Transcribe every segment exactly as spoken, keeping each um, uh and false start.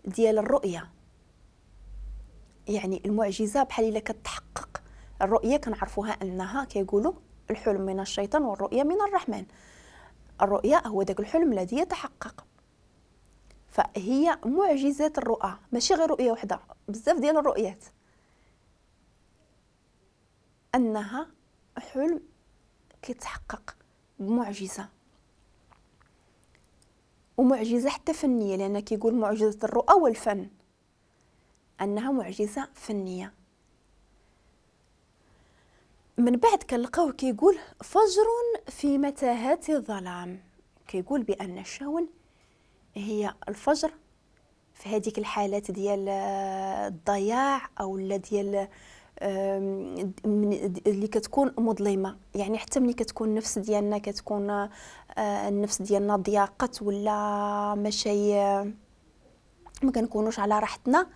ديال الرؤية، يعني المعجزة بحال إلا كتحقق الرؤية. كنعرفوها أنها كيقولوا الحلم من الشيطان والرؤية من الرحمن. الرؤية هو داك الحلم الذي يتحقق، فهي معجزات الرؤى، ماشي غير رؤية وحدة، بزاف ديال الرؤيات، أنها حلم كيتحقق بمعجزة، ومعجزة حتى فنية، لأن كيقول معجزة الرؤى والفن، أنها معجزة فنية. من بعد كنلقاوه كيقول فجر في متاهات الظلام، كيقول بأن الشاون هي الفجر في هذيك الحالات ديال الضياع أو لا ديال اللي كتكون مظلمة، يعني حتى ملي كتكون النفس ديالنا كتكون النفس ديالنا ضياقت ولا ماشي ما كنكونوش على راحتنا،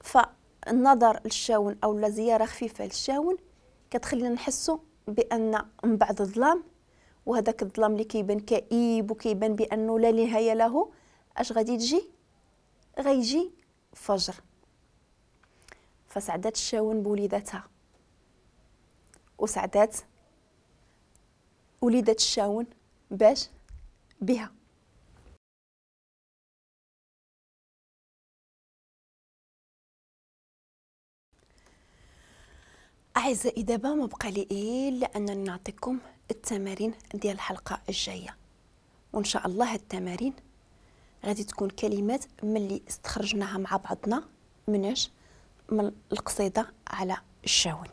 فالنظر للشاون او لا زيارة خفيفة للشاون كتخلينا نحسوا بان من بعد الظلام، وهذاك الظلام اللي كيبان كئيب وكيبان بانه لا نهاية له، اش غادي تجي؟ غيجي فجر. فسعدات الشاون بوليداتها، وسعدات وليدات الشاون باش بها. أعزائي دابا ما بقى لي إلا أن نعطيكم التمارين ديال الحلقة الجاية، وإن شاء الله التمارين غادي تكون كلمات من اللي استخرجناها مع بعضنا مناش؟ من القصيدة على الشاون.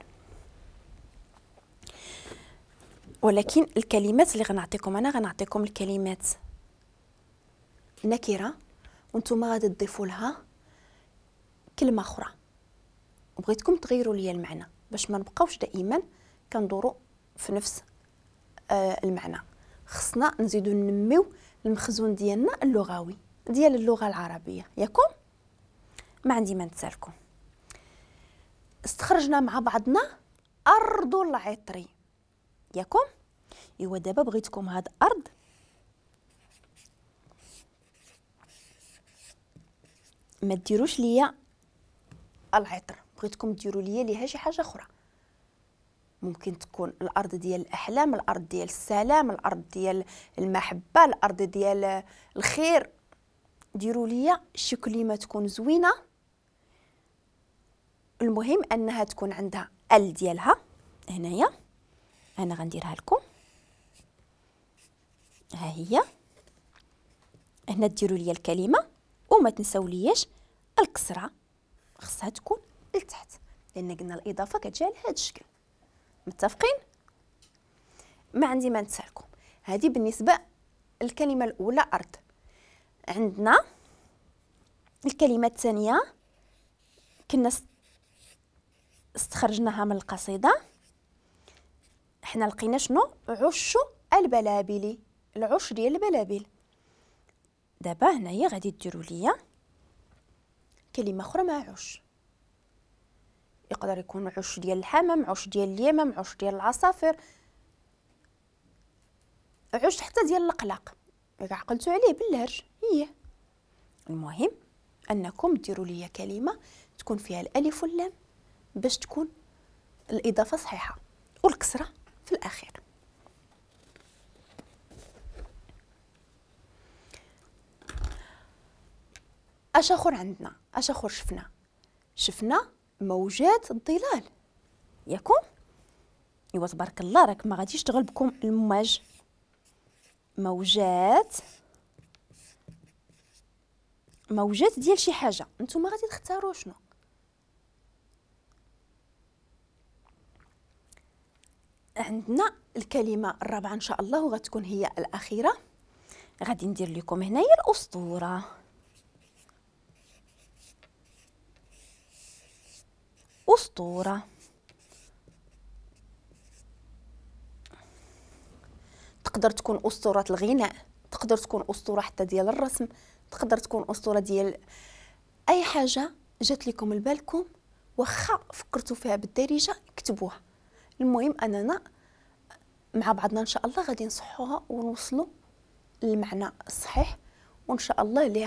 ولكن الكلمات اللي غنعطيكم أنا غنعطيكم الكلمات نكرة، وانتم غادي تضيفوا لها كلمة أخرى، وبغيتكم تغيروا لي المعنى باش ما نبقاوش دائما كندوروا في نفس آه المعنى. خصنا نزيدو ننميو المخزون ديالنا اللغوي ديال اللغة العربية، ياكم؟ ما عندي ما نتسالكم. استخرجنا مع بعضنا أرض العطري، ياكم؟ إيوا دابا بغيتكم هاد أرض ما ديروش ليا العطر، بغيتكم ديروا ليا ليها شي حاجة اخرى. ممكن تكون الارض ديال الاحلام، الارض ديال السلام، الارض ديال المحبة، الارض ديال الخير. ديروا ليا شي كلمة تكون زوينة، المهم انها تكون عندها ال ديالها. هنايا انا غنديرها لكم، ها هي هنا. ديروا ليا الكلمة وما تنساو لياش الكسرة، خصها تكون لتحت، لان قلنا الاضافة كتجي على هذا الشكل. متفقين؟ ما عندي ما نتسالكم. هذه بالنسبة الكلمة الاولى ارض. عندنا الكلمة الثانية كنا استخرجناها من القصيدة، حنا لقينا شنو؟ عش البلابل، العش ديال البلابل. دابا هنايا غادي ديروا ليا كلمة اخرى مع عش، يقدر يكون عش ديال الحمام، عش ديال اليمام، عش ديال العصافير، عش حتى ديال القلاق، عقلتو عليه بالهرج. هي المهم انكم ديروا لي كلمة تكون فيها الالف واللام باش تكون الاضافة صحيحه، والكسرة في الاخير. اش اخر عندنا؟ اش اخر شفنا؟ شفنا موجات الظلال، ياكم؟ ايوا تبارك الله راك ما غاديش تغلبكم المواج. موجات، موجات ديال شي حاجة، نتوما غادي تختاروا شنو. عندنا الكلمة الرابعة ان شاء الله وغتكون هي الاخيرة. غادي ندير لكم هنايا الاسطورة. أسطورة تقدر تكون أسطورة الغناء، تقدر تكون أسطورة حتى ديال الرسم، تقدر تكون أسطورة ديال أي حاجة جات لكم لبالكم، واخا فكرتوا فيها بالدارجة كتبوها. المهم أننا مع بعضنا إن شاء الله غادي نصحوها ونوصلوا للمعنى الصحيح، وإن شاء الله اللي